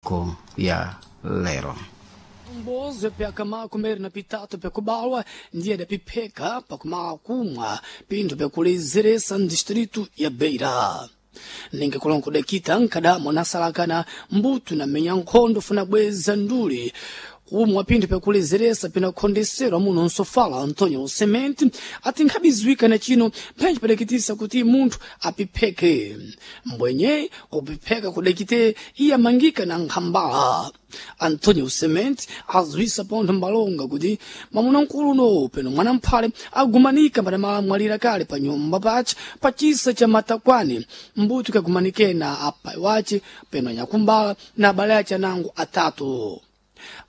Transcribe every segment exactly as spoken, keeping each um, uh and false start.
Ko ya lero. Mbozo pyakamakumeri na pitatu pyakubalwa ndiye dapipheka pakumala kumwa pinthu pyakulezeresa mdistritu ya Beira. Ninga kulongo dakita nkadamo nasalakana mbuto na menya nkhondo funa bweza nduli kumwa pinthu pyakulezeresa pinakhondeserwa muno nsofala Antonio Cement ati nkhabiziwika na chino phenji padakitisa kuti munthu apipheke mbwenye kupipheka kudakite iye amangika na nkhambala. Antonio Cement azwisa pontho mbalonga kuti mwamuna mkulu peno mwana mphale agumanika padamalamwalira kale pa nyumba pace pa chisa cha matakwani mbuto kagumanike na apai wace peno anyakumbala na abale ace anango atatu.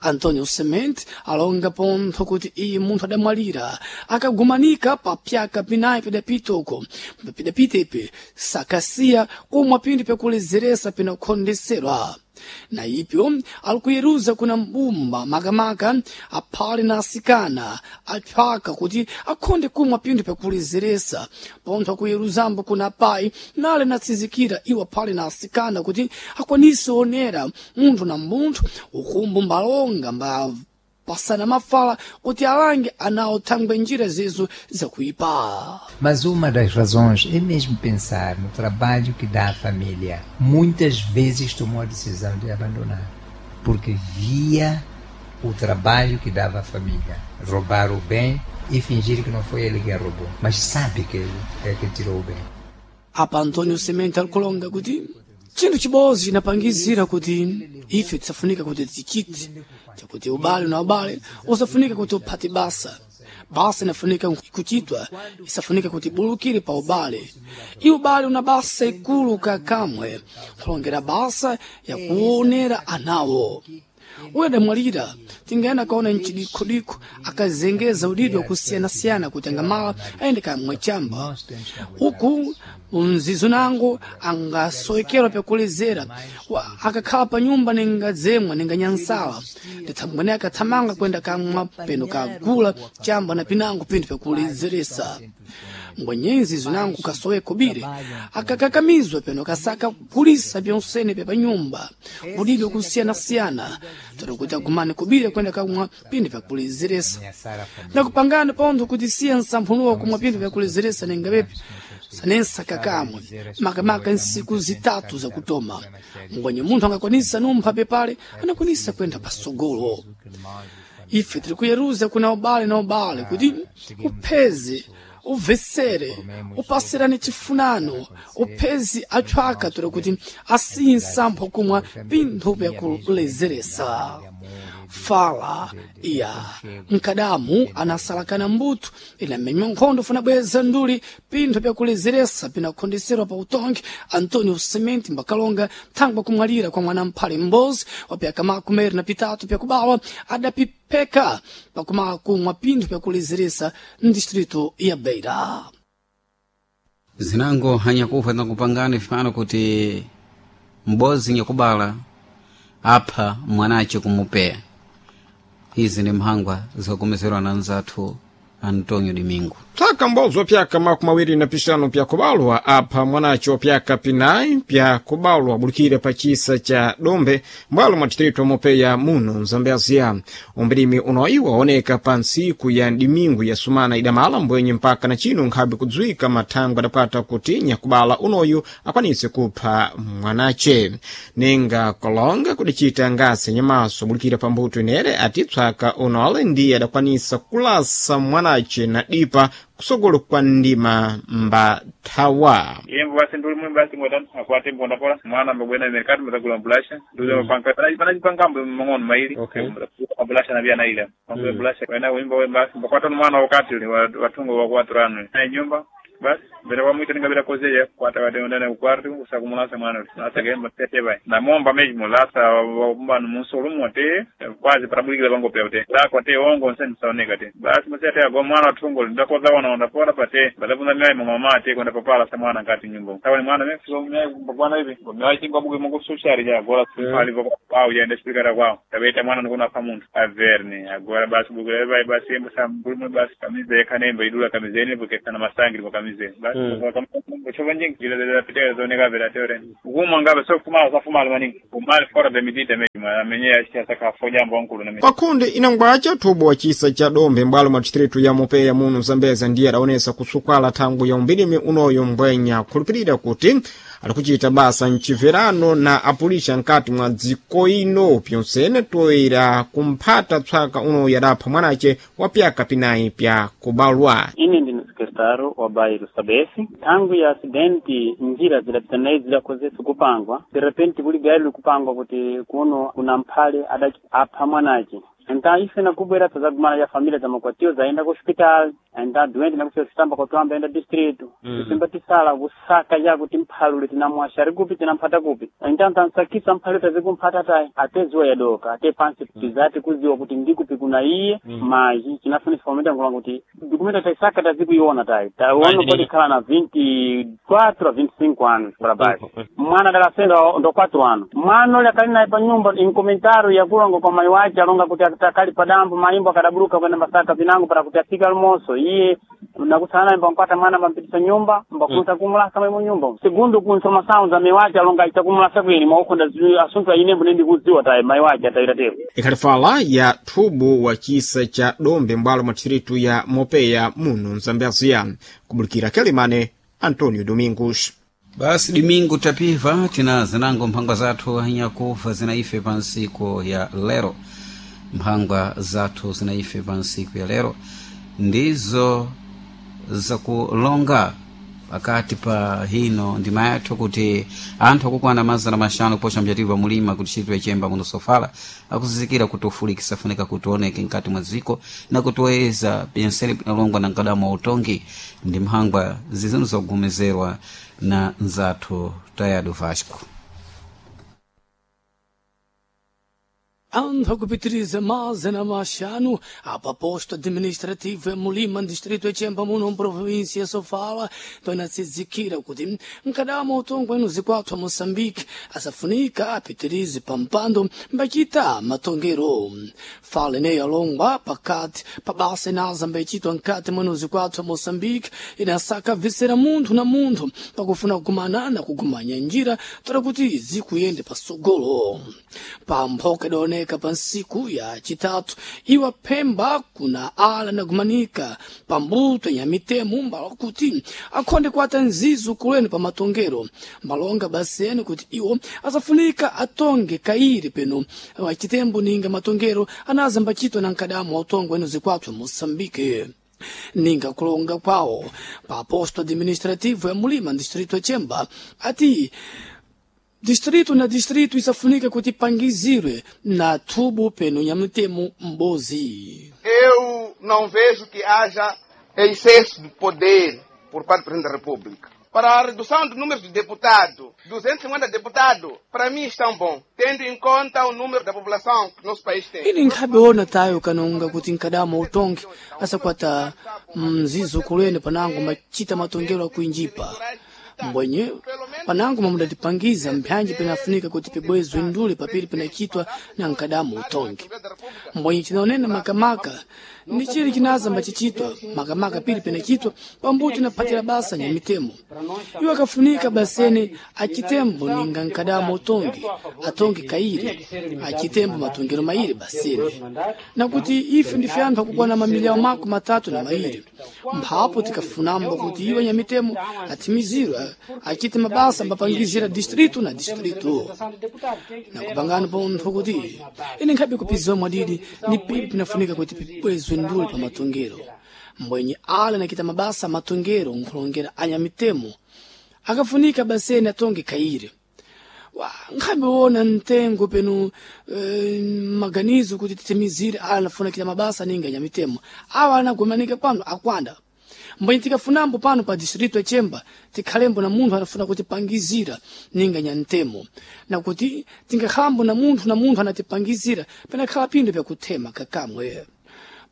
Antonio Cement alonga pontho kuti iye munthu adamwalira akagumanika pa pyaka pinayi pidapitoko pidapitepe sakasiya kumwa pinthu pyakulezeresa pinakhondeserwa. Na ipyo alikuyeruza kuna mbumba makamaka aphale na asikana aphaka kuti akhonde kumwa pinthu pyakulezeresa pontho akuyeruzambo kuna apayi nale natsizikira iwo aphale na asikana kuti akwanise onera munthu na munthu ukumbu mbalonga mba pasana mafala kuti alange anawo thangwe njira zezo zakuipa. Mas uma das razões é mesmo pensar no trabalho que dá à família. Muitas vezes tomou a decisão de abandonar, porque via o trabalho que dava à família. Roubar o bem e fingir que não foi ele quem roubou, mas sabe que ele é que tirou o bem. Apa Antonio Semente alikulonga kuti chinthu chibodzi chinapangizira kuti ife tisafunika kuti tichite chakuti ubale na ubale usafunika kuti uphate basa basa inafunika kuchitwa isafunika kuti ibulukire pa ubale i ubale una basa ikulu kakamwe kulongera basa yakuonera anawo. Uyo adamwalira tingayenda kaona mchidikhodikho akazengeza udidwa kusiyana-siyana kuti angamala ayende kamwe chamba uku mzizo nango angasowekerwa pyakulezera akakhala pa nyumba ningadzemwa ninganyansala ndithambwene akathamanga kwenda kamwa peno kagula chamba na pinango pinthu pyakulezeresa mbwenyenzi zinango kasowe kobiri akakakamizwa peno kasaka kulisa pyonsene pya panyumba udidwa kusiyana-siyana toro kuti agumane kobiri kwenda kamwa pinthu pyakulezeresa ndakupangana pontho kuti siya nsamphunuwa kumwa pinthu pyakulezeresa ningapepi sanensa kakamwe makamaka nsiku zitatu zakutoma ngwenye munthu angakwanisa numpha pepale anakwanisa kwenda pasogolo. Ife tiri kuyeruza kuna ubale na ubale kuti upheze ubvesere upasirane chifunano uphezi atchwaka tora kuti asiye nsampho kumwa pinthu pyakulezeresa. Fala ya nkadamu anasalakana mbuto inamenywa nkhondo funa bweza nduli pinthu pyakulezeresa pinakhondeserwa pa utongi Antonio Cement mbakalonga thangwa kumwalira kwa mwana mphale mbozi wa pyaka makumeri na pitatu pyakubawa adapipheka pakumala kumwa pinthu pyakulezeresa mdistritu ya Beira. Zinango hanyakufa nakupangani fano kuti mbozi nyakubala apha mwanache kumupeya. Izi ni mhangwa zakumeserwa na nzathu Antonio Domingo. Tsaka mbozo pyaka makumi awiri na pixanu pyakubalwa apha mwanace wa pyaka pinayi pyakubalwa abulikire pa chisa cha dombe mbwalo mwa distrito mopeya muno mzambezia. Umbirimi unoyi waoneka pa ntsiku ya dimingu ya sumana idamala mbwenye mpaka na chino nkhabe kudziwika mathangwe adapata kuti nyakubala unoyu akwanise kupha mwanace. Ninga kolonga kudacita ngasi nyamaso abulikire pa mbuto inere ati tswaka unole ndiye adakwanisa kulasa mwanace na dipa kusogolo kwa ndima mbathawa. Yembo basi nduli mwe basi ngoda akwate mbonda pola mwana mbwena mercado mutagula mbulasha nduze mapanga pana pana chipangambo mang'ono maili Okay. mbulasha na vyana ile panga mbulasha wena wimba we basi mbakwata mwana wakati ule watungo wa kwaturano na nyumba basi mbere wa mwita ningabira kozeya kwata wate ndana kwartu usakumulasa mwana ule lasa gemba tete bai na momba mesmo lasa wabumba numusolo mote kwazi parabulikira bango pya te lako te ongo nseni saoneka te basi mse te agwa mwana watungo ndakoza wana ndapora pate badabunda myai mama te kwenda papala sa mwana ngati nyumba sawa ni mwana mimi sio myai bwana hivi myai chingwa buge mungu social ja agora ali voko au ya ndashikara kwao tabeta mwana ndikona pa muntu averne agora basi buge bai basi embo sa mbulume basi kamize kanembe idula kamizeni buke kana masangi kwa kamize basi. Kuchova njingi jile piteka zoneka vela teore. Kuma ngabe so fumala sa fumala maningi. Kumali fora de medida mesmo. Amenye asaka foja mbo nkulu na Pakhunde inangwacha thubo wa chisa cha dombe m'bwalo mwa distritu ya Mopeya muno Zambeza ndiye adaonesa kusukwala thangwi ya umbirimi unoyo mbwenya khulupirira kuti alikuchita basa mchimverano na apulisha nkati mwa dziko ino pyonsene toyera kumphata tswaka unoyo adapha mwanace wa pyaka pinayi pya kubalwa. Ine ndine sekretário wa bairro Sabesi. Tangu ya acidente njira zidapita naye zidakozesa kupangwa. De repente kuli gari likupangwa kuti kuno kuna mphale adati apha mwanace. Então ife nakubwera tazagumana ya família za makwatio zaenda ku hospital enda doente nakufika kusitamba kwatwamba enda distrito mm. Tisimba tisala kusaka ya kuti mphalule tinamwasha kupi tinamphata kupi então tansakisa mphalule tazikumphata tayi ate ziwa yadoka ate pansi mm. Tizati kuziwa kuti ndikupi kuna iye mm. Maji chinafunisa pamene ngulanga kuti dokumento taisaka tazikuiona tayi taona pode khala na vinte e quatro a vinte e cinco anos para baixo mwana dalasenda ndo quatro anos mwana ule akali naye pa nyumba em comentário yakulonga kwa mai wace alonga kuti akali padambo maimbo akadaburuka kwenda masaka pinango para kuti afike almoço iye nakusana mba nkwata mwana mbampitisa nyumba mbakunsa mm. Kumulasa mwemo nyumba segundo ku informação za mai wace alonga aita kumulasa kwini mwaukunda assunto ainembo nendi kudziwa tayi mai wace atayita tero Ikhalifala ya thubo wa chisa cha dombe m'bwalo mwa distritu ya Mopeya muno Mzambezia kubulikira Kelimane Antonio Domingos. Basi domingo tapiva tina zinango mphangwa zathu nyakufa zinaife pa nsiku ya lero mphangwa zathu zinaife pa nsiku ya lero ndizo zakulonga pakati pa hino ndima yathu kuti anthu akukwana mazana maxanu kuposa mchativu mulima kuti chitwe chemba muno sofala akuzizikira kuti ufulikisa funika kuti oneke mkati mwa dziko na kutiweza penseli pinalongwa na mkadamo wa utongi ndi mphangwa zizinu zogumizerwa na nzathu Tayado Vasco. Anthu akupitiriza mazana maxanu apa posto administrativo ya Mulima distrito ya Chemba muno província Sofala tonatsizikira kuti mkadamo utongo enu zikwathu a Moçambique asafunika apitirize pampando mbachita matongero fala ineyo alongwa pakati pa basa inaza mbachitwa nkati mwenu zikwathu a Moçambique inasaka visera munthu na munthu pakufuna kukumana na kugumanya njira toda kuti zikuyende pasogolo pamphoka idaoneka pa nsiku ya chitatu iwa phemba kuna ala nagumanika pambuto ya mitemo mbala kuti akhonde kuata nzizu kulweni pa matongero mbalonga basene kuti iwo asafunika atonge kairi peno achitembo ninga matongero anaza mbachitwa na nkadamu wa utongo eno zikwathu Moçambique ninga kulonga kwawo pa posto administrativo ya Mulima distrito ya Chemba ati distrito na distrito isafunika kuti pangizirwe na thubo peno ya mtemo mbozi. Eu não vejo que haja excesso de poder por parte do Presidente da República. Para a redução do número de deputados, duzentos e cinquenta deputados, para mim estão bom, tendo em conta o número da população que nosso país tem. Ili nkhabe ona tayo kanonga kuti nkadamo utongi asakwata mzizo kulweni panango machita matongero akuinjipa mbwenye panango mamudatipangiza mphanji pinafunika kuti pibwezwe ndule papiri pinachitwa na nkadamu utongi mbwenye chinaonena makamaka ndi chili chinaza mbachichitwa makamaka pili pinachitwa pambuto inaphatira basa nyamitemo iwo akafunika basene achitembo ninga nkadamu utongi atongi kairi achitembo matongero mairi basene nakuti ife ndife anthu akukwana mamiliyao mako matatu na mairi mphapo tikafunambo kuti iwo nyamitemo atimizirwe achite mabasa mbapangizira distrito na distrito nakupangana pontho kuti ine nkhabe kupiziwa mwadidi ni pili pinafunika kuti pibwezwe ndule pa matongero mbwenye ale nakita mabasa matongero nkhulongera anyamitemo akafunika basene atonge kaire wa nkhabe wona mtengo peno eh, maganizo kuti titimizire ala nafuna kita mabasa ninga nyamitemo awa anagumanika pano akwanda mbwenye tikafunambo pano pa distrito ya Chemba tikhalembo na munthu anafuna kutipangizira ninga nyantemo nakuti tingakhalambo na munthu na munthu anatipangizira penakhala phindu pyakuthema kakamwe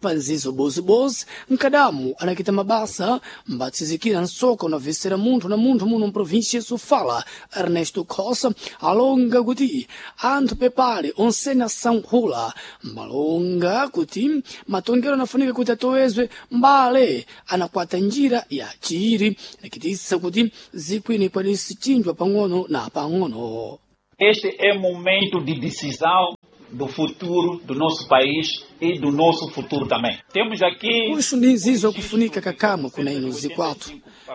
Pa nzizo bozibozi mkadamu anakita mabasa mbatsizikira nsoka unavesera munthu na munthu muno mprovinsia Sofala Ernesto Khosa alonga kuti anthu pepale onsene asankhula malonga kuti matongero anafunika kuti atowezwe mbale anakwata njira ya chiiri nakitisa kuti zikwini ikwanise chinjwa pang'ono na pang'ono. Este é momento de decisão do futuro do nosso país e do nosso futuro também. Temos aqui Uxu ndi nzizo akufunika kakamwe kuna ino zikwathu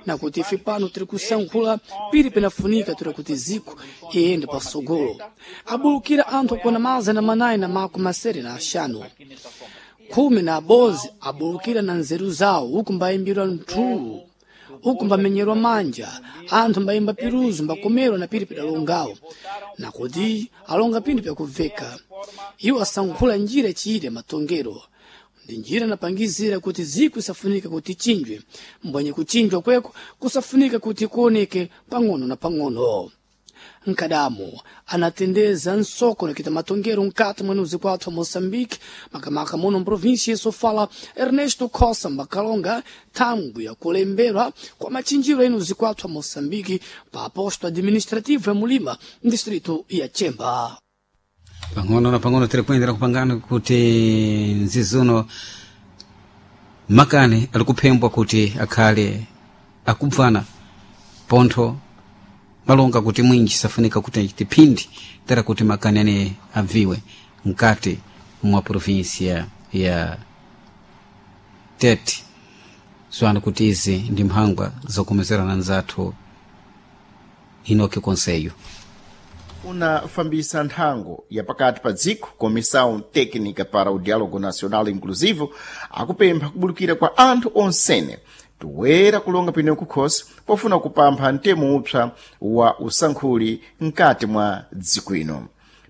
na kuti ife pano tiri kusankhula pili penafunika tiri kuti ziko iyende pasogolo. Abulukira anthu akwana mazana manayi na makumi asere na axanu khumi na abozi abulukira na nzeru zawo uku mbayimbirwa mthulu uku mbamenyerwa manja anthu mbayimba piruzu mbakomerwa na pili pedalongawo nakuti alonga pinthu pyakubveka. Iwo asankhula njira chiyire matongero ndi njira napangizira kuti ziko isafunika kuti chinjwe mbwenye kuchinjwa kweko kusafunika kuti kuoneke pang'ono na pang'ono. Nkadamo anatendeza nsoko nakita matongero mkati mwa nuzi kwathu wa Moçambique makamaka muno mprovinsia Sofala Ernesto Khosa mbakalonga thangwi yakulemberwa kwa machinjiro enuzi kwathu wa Moçambique pa posto administrativo ya Mulima distrito ya Chemba. Pang'ono na pang'ono tiri kuyendera kupangana kuti nzizuno makani ali kuphembwa kuti akhale akubvana pontho malonga kuti mwinji safunika kuti achite phindi tera kuti makani ane abviwe mkati mwa provinsia ya Tete. Zwanu kuti izi ndi mphangwa zokomezerana nzathu Inoki Konseyo Unafambisa nthango ya pakati pa dziko Comissão Técnica para o Diálogo Nacional Inclusivo akupempha kubulukira kwa anthu onsene toera kulonga pino kukhosi pofuna kupampha mtemo upsa wa usankhuli mkati mwa dziko ino.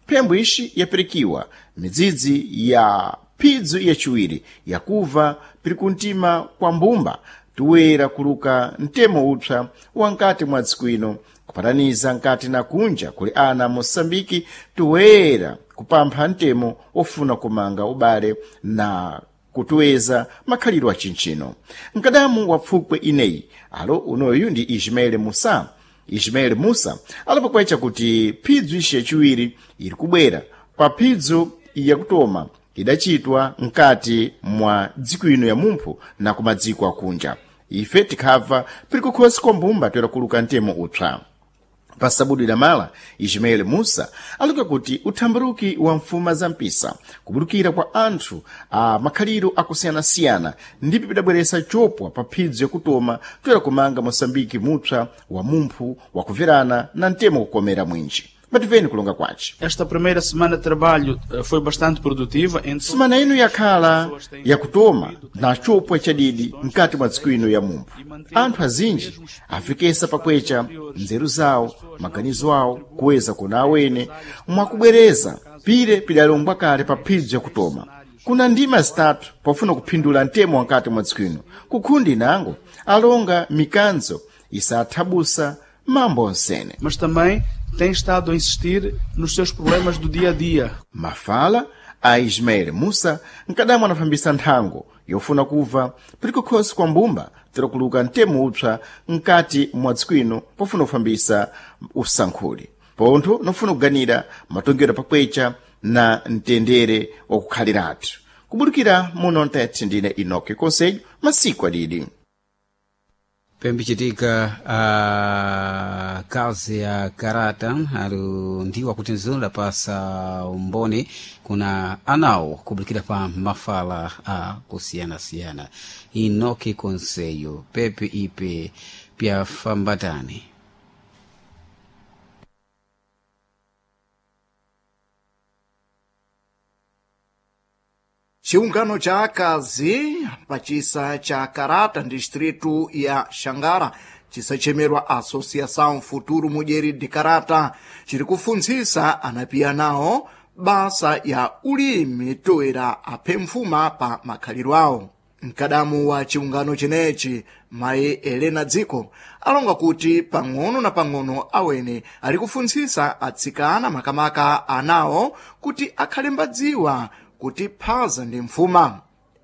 Phembo ixi yapirikiwa midzidzi ya phidzo yaciwiri yakuva piri kuntima kwa mbumba toera kuluka mtemo upsa wa mkati mwa dziko ino kupataniza nkati na kunja kuli ana Moçambike toera kupampha mtemo ofuna kumanga ubale na kutuweza makhalidwe acintchino. Mkadamu wa pfukwe ineyi alo unoyu ndi Ismael Musa. Ismael Musa alipokwecha kuti phidzo ixi yaciwiri iri kubwera pa phidzo yakutoma idacitwa mkati mwa dziko ino ya mumphu na kumadziko akunja. Ife tikhabva piri kukhosi kwa mbumba toera kuluka mtemo upsa. Pasabudu idamala Ismael Musa aluka kuti uthambaruki wa mfuma za mpisa kubulukira kwa anthu a makhaliro akusiyanasiyana ndipo pidabweresa chopwa pa phidzo yakutoma toera kumanga Moçambike mupsa wa mumphu wakuverana na mtemo kukomera mwinji. Mativeni kulonga kwace. Esta primeira semana de trabalho foi bastante produtiva. Entre... Semana ino yakhala yakutoma na chopwa chadidi mkati mwa dziko ino ya mumphu. Anthu azinji afikesa pakwecha nzeru zawo, maganizo awo kuweza kuna awene mwakubwereza pire pidalongwa kale pa phidzo yakutoma. Kuna ndima zitatu pofuna kuphindula mtemo wankati mwa dziko ino. Kukhundi nango alonga mikanzo isathabusa mambo onsene. Mas também tem estado a insistir nos seus problemas do dia a dia. Mafala a Ismael Musa mkadamu anafambisa nthango yofuna kubva piri kukhosi kwa mbumba tero kuluka mtemo upsa mkati mwa dziko ino pofuna kufambisa usankhuli pontho nofuna kuganira matongero pakwecha na mtendere wakukhaliratu. Kubulukira muno Ntete ndine Inoki Konselho masiku adidi. Pembichitika a kazi ya karata ali ndiwo akuti nzunda pasa umboni kuna anawo kubulikira pa mafala a kusiyanasiyana. Inoki Konseyo pepe ipe pyafambatani. Chiungano cha akazi pachisa cha Karata distritu ya Xangara chisachemerwa Associação Futuro Mulher de Karata chiri kufunzisa anapiya nawo basa ya ulimi toera aphe mfuma pa makhaliro awo. Mkadamu wa chiungano chenechi mayi Helena Dziko alonga kuti pang'ono na pang'ono awene ali kufunzisa atsikana makamaka anawo kuti akhale mbadziwa kuti phaza ndi mfuma.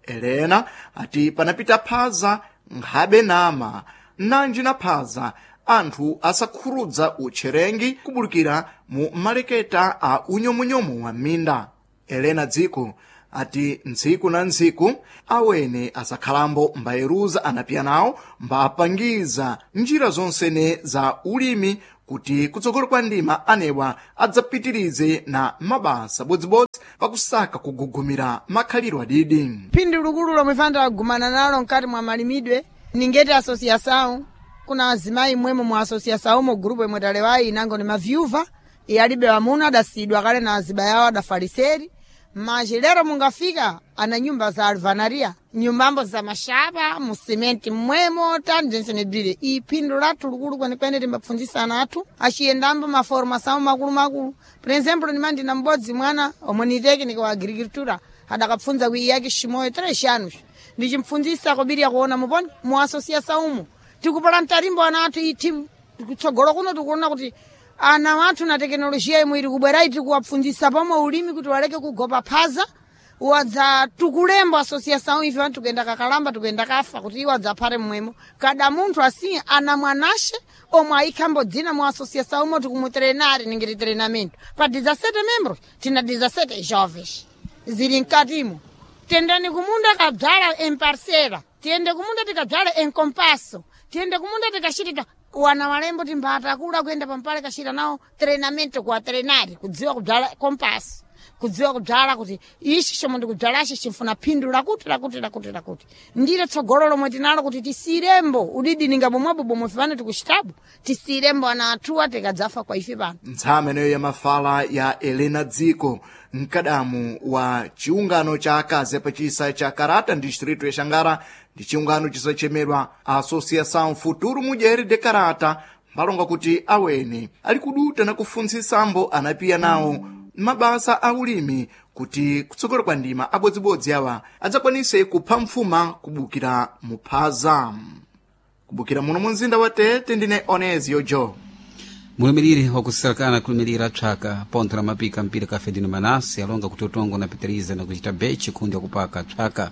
Elena ati panapita phaza nkhabe nama nanji na phaza anthu asakhurudza utcherengi kubulukira mu maleketa a unyomunyomu wa minda. Elena Dziko ati ntsiku na ntsiku awene asakhalambo mbayeruza anapiya nawo mbapangiza njira zonsene za ulimi kuti kutsogolo kwa ndima anewa adzapitirize na mabasa bodzibodzi pakusaka kugugumira makhaliro adidi. Phindu likulu lomwe fana nalo mkati mwa malimidwe ningeti asosiação kuna azimayi mwemo mu asosiação mo grupo imwe talewayi inango ni mavyuva iyalibe wamuna adasidwa kale na aziba yawo adafaliseri maji lero mungafika ana nyumba za alvanaria nyumbambo za mashapa musimenti mmwemo tanjensenebile iphindu lathu likulu kwenekwene timbapfundzisa ana athu aciyendambo maformação makulumakulu. Por exemplo nimandina m'bodzi mwana omwe ni técnico wa agricultura adakapfundza kwi iyake ximoyo três anos ndichimpfundzisa kobiriya kuona muponi mu associação umu tikupala mtarimbo ana athu iti kutsogolo kuno tikuona kuti ana wathu na tekinolojiya imwe iri kubwera tikuwapfundzisa pomwe ulimi kuti waleke kugopa phaza wadza tukulembo associação ife vantu tukuyenda kakalamba tukuyenda kafa kuti iwo adzaphate mmwemo kada munthu asi ana mwanashe omwe ayikhambo dzina mu associação umo tikumutrenari ningiti treinamento pa dezessete membros tina dezessete jovens zili mkatimo. Tendani kumunda kadzala em parcela, tiyende kumunda tikadzala em compasso, tiyende kumunda tikachitita wana walembo timbatakula kuyenda pampale kachita nawo treinamento kuwa trenari kudziwa kudzala compasso, kudziwa kudzala kuti ichi chomwe ndikudzalachi chimfuna phindu lakuti lakuti lakuti lakuti ndilo tsogolo lomwe tinalo kuti tisiyirembo udidi ninga bomwebo bomwe fane tikuchitapo tisiyirembo ana athuwa tikadzafa kwa ife pano. Ntsama ineyo ya mafala ya Elena Dziko mkadamu wa chiungano cha akazi apachisa cha Karata distrito ya Xangara ndi chiungano chisachemedwa Associação Futuro Mulher de Karata mbalonga kuti awene ali kuduta na kufuntsisambo anapiya nawo mabasa a ulimi kuti kutsogolo kwa ndima abodzibodzi awa adzakwanise kupha mfuma kubukira muphaza. Kubukira muno mu mzinda wa Tete ndine Onezio Joe. Mulimiriri wakusirakana kulimirira psaka pontho la mapika mpira ka Fedino Manase alonga kuti utongo unapitiriza na kuchita bechi kundi wakupaka psaka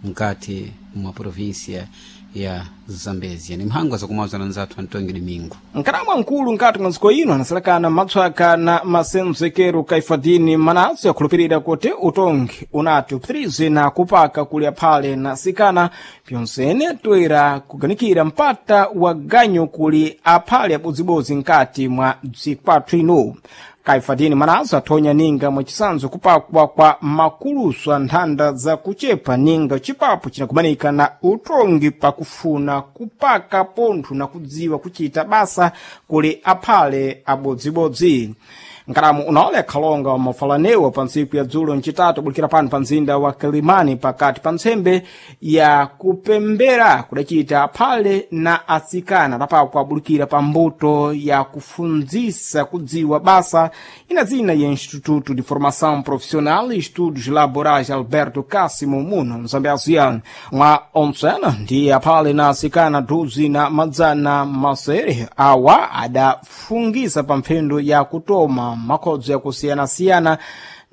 mkati mwa província ya Zambezia. Ni mhango zakumwaza na nzathu Antonio Domingo. Nkaramwa mkulu nkati mwa ndziko ino anasalakana matswaka na masenzekero Kaifadini Manase akhulupirira kuti utongi unati upitirize na kupaka kuli aphale na sikana pyonsene toera kuganikira mpata wa ganyu kuli aphale abodzibodzi nkati mwa bzikwathu ino. Kaifadini Manase athonya ninga mwachisanzo kupakwa kwa makulusu a nthanda za kuchepa ninga chipapo chinakumanika na utongi pakufuna kupaka pontho na kudziwa kuchita basa kuli aphale abodzibodzi. Nkalamu unaole akhalonga mafalanewa pa ntsiku ya dzulo ncitatu abulikira pano pa mzinda wa Kilimani pakati pa ntsembe ya kupembera kudacita aphale na atsikana adapakwa abulikira pa mbuto ya kufundzisa kudziwa basa ina zina ya Instituto de Formação Profissional e Estudos Laborais Alberto Cássimo muno mzambiaziya mwa ontsena ndi aphale na atsikana thuzi na madzana masere awa adafungisa pa mphendo ya kutoma makhodzo yakusiyanasiyana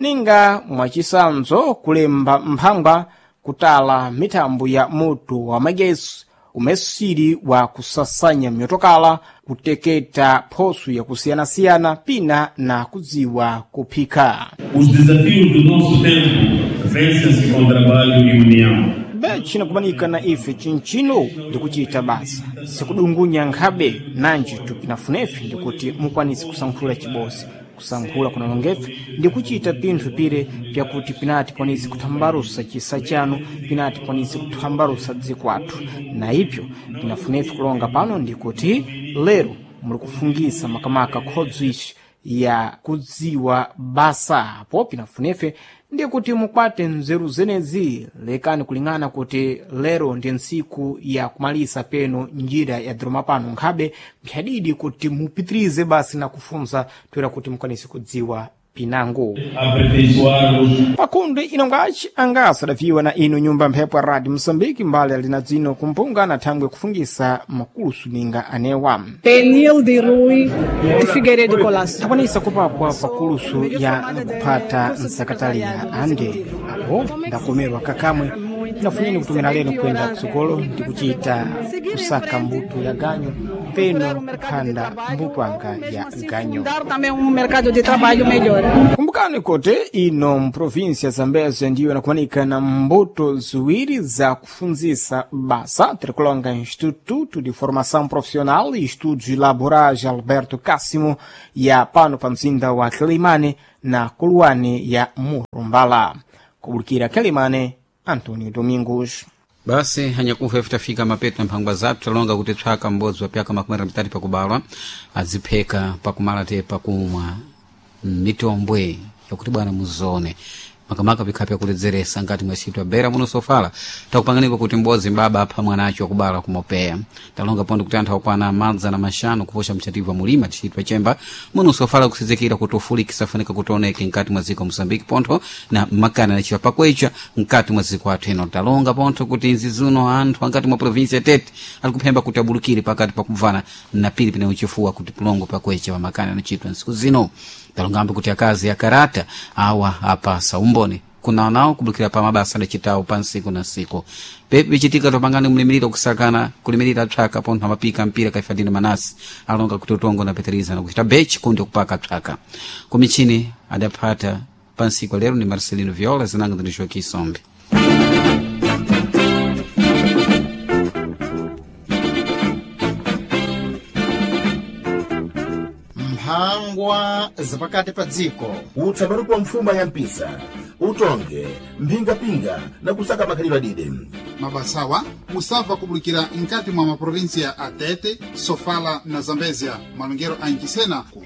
ninga mwachisanzo kulemba mphangwa kutala mithambo ya moto wa magesi umesiri wa kusasanya myotokala kuteketa phoso yakusiyanasiyana pina na kudziwa kuphika. Os desafios do nosso tempo vencem-se com trabalho e união. Bechi nakumanika na ife chinchino ndikuchita basa sikudungunya nkhabe nanji tupinafunefe ndikuti mukwanise kusankhula chibosi kusankhula kunalongefe ndikuchita pinthu pire pyakuti pinati kwanise kuthambalusa chisa chanu pinati kwanise kuthambalusa dziko athu na ipyo pinafunefe kulonga pano ndikuti lero muli kufungisa makamaka khodzo ici ya kudziwa basa apo pinafunefe ndikuti mukwate nzeru zenezi lekani kuling'ana kuti lero ndi ntsiku ya kumalisa peno njira ya dhiroma pano nkhabe mphyadidi kuti mupitirize basi na kufunza toera kuti mukwanise kudziwa pinango Aperfeiçoar-os pakundi inongaci angasa adaviwa na ino nyumba mphepo ya radio moçambique mbali alina dzino kumpunga na thangwe kufungisa makulusu ninga anewa Penilde Rui de Figueiredo Colasso. takwanisa kupakwa pakulusu ya kuphata nsakataliya ande apo ndakomerwa kakamwe Tinafunyeni kutumira leno kwenda kusukolo ndi kuchita kusaka mbuto ya ganyo peno kuphanda mbupanga ya ganyo. Dar também um mercado de trabalho melhor. Kumbukani kote ino mprovinsia Zambezia ndiyo inakumanika na mbuto ziwiri za kufunzisa basa tirikulonga Instituto de Formação Profissional e Estudos Laborais Alberto Cássimo ya pano pa mzinda wa Quelimane na Kuluane ya Murumbala. Kubulikira Quelimane, Antonio Domingos. Basi hanyakufa ife tafika mapeto na mphangwa zathu talonga kuti tswaka m'bodzi wa pyaka makumi atatu pakubalwa azipheka pakumala te pakumwa mitombwe yakuti bwana muzone makamaka pikhapi yakuledzeresa ngati mwacitwa bera muno sofala takupanganiko kuti m'bodzi mbaba apha mwanacho wakubala kumopeya talonga pondo kuti anthu akwana madza na maxanu kuposha mchativu wa mulima tichitwa chemba muno sofala kusizikira kuti ufulikisa fanika kuti oneke mkati mwa dziko moçambique pontho na makana anachiwa pakwecha mkati mwa dziko athu ino talonga pontho kuti nzi zino anthu angati mwa provinsia tete ali kuphemba kuti abulukire pakati pakubvana na pili pene uchifuwa kuti pulongo pakwecha pamakana anachitwa nsiku zino talongambe kuti akazi akarata awa apasa umboni kuna nawo kubulukira pa mabasa adacitawo pa nsiku na nsiku pepi pichitika topangani mlimiriro kusakana kulimirira psaka pontho amapika mpira kaifadini manasi alonga kuti utongo na peteriza na kuchita bechi kundi kupaka psaka kumichini adaphata pa nsiku lero ni Marcelino Viola zinanga ndi Joaquim Sombe. Mphangwa zapakati pa dziko. Utsabaruko wa mfuma ya mpisa utonge mphingapinga na kusaka makhalidwe adide. Mabasawa musabva kubulikira mkati mwa maprovinsia a Tete, Sofala na Zambezia malongero a Nchisena ku